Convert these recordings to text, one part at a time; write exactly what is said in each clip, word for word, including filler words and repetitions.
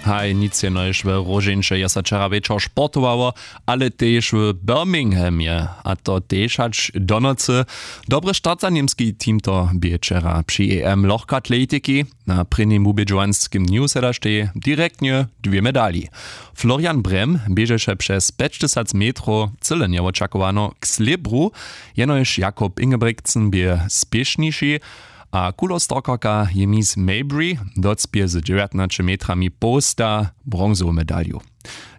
Haj, nic jenož w róžeńše je so wčera wječor sportowało, ale tež w birminghamje, a to tež hač do nocy. Dobry start za němski team to bě wčera při em lochkatletiki. Na prěnim wubědźowanskim dnju sedaštej direktnje dwě medali. Florian Brem běžeše přez pjećtysac metrow cyle njewočakowano k slěbru, jenož jakob ingebrigtsen bě spěšniši, a kulostorkarka je miss mabry docpě z dźewjatnaće metrami połsta bronzowu medalju.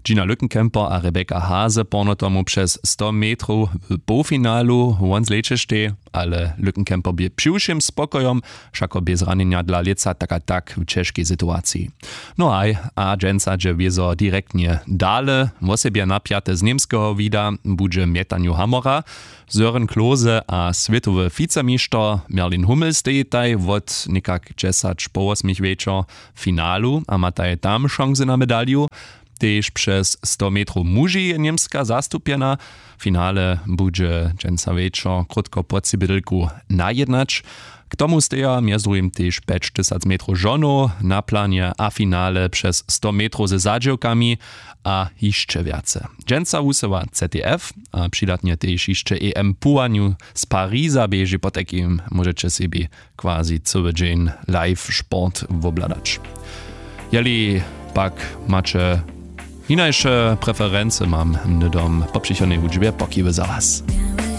Gina Lückenkemper a Rebecca Hase porno tomu přez sto metrow w połfinalu won zlećeštej, ale Lückenkemper bě přiwšěm spokojom, wšako bě zranjenja dla lětsa tak a tak w ćežkej situaciji. No haj, a dźensa dźe wězo direktnje dale. Wosebje napjate z němskeho wida budźe mjetanju hamora. Søren Klose a swětowy wicemišter Merlin Hummel stejitaj wot někak dźesać po wosmich wječor w finalu a mataj tam šansy na medalju. Tež přez sto metrow muži je němska zastupjena. Finale budźe dźensa wječor krótko po cibědelku najednać. K tomu steja mjez druhim tež pjećtysac metrow žonow na planje a finale přez sto metrow ze zadźěłkami a hišće wjace. Dźensa wusyła ZDF a přidatnje tež hišće em puwanju z Pariza běži, potajkim móžeće sebi quasi cyły dźeń live sport wobhladać. Jeli pak maće hinaše preferency, mam hnydom po přichodnej hudźbje pokiwy za was.